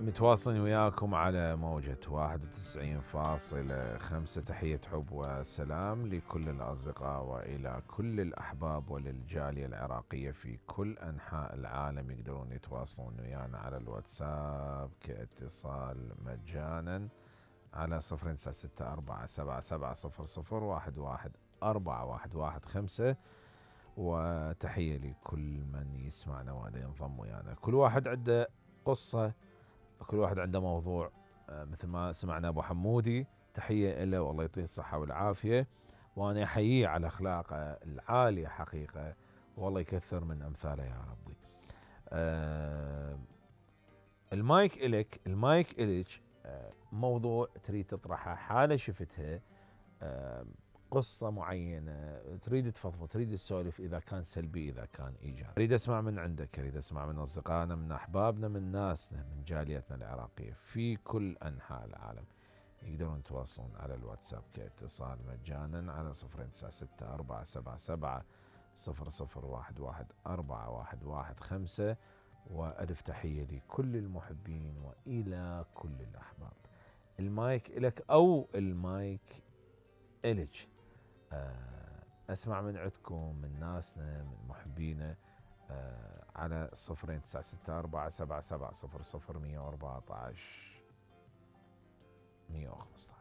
متواصلين وياكم على موجة 91.5. تحية حب وسلام لكل الأصدقاء وإلى كل الأحباب وللجالية العراقية في كل أنحاء العالم. يقدرون يتواصلون ويانا على الواتساب كاتصال مجانا على 0964770011 وتحية لكل من يسمعنا وهذا ينضم ويانا. كل واحد عنده قصة، كل واحد عنده موضوع. مثل ما سمعنا أبو حمودي، تحية له والله يعطيه الصحة والعافية، وأنا أحييه على أخلاقه العالية حقيقة، والله يكثر من أمثاله يا ربي. المايك إلك، المايك إلك. موضوع تريد تطرحه، حالة شفتها، قصة معينة تريد تفضفض، تريد تسولف، إذا كان سلبي إذا كان إيجابي. أريد أسمع من عندك، أريد أسمع من أصدقائنا، من أحبابنا، من ناسنا، من جاليتنا العراقية في كل أنحاء العالم. يقدرون يتواصلون على الواتساب كاتصال مجانا على 0964770011 وألف تحية لكل المحبين وإلى كل الأحباب. المايك إلك أو المايك إلك. أسمع من عندكم، من ناسنا، من محبينا، على 0964770011 115.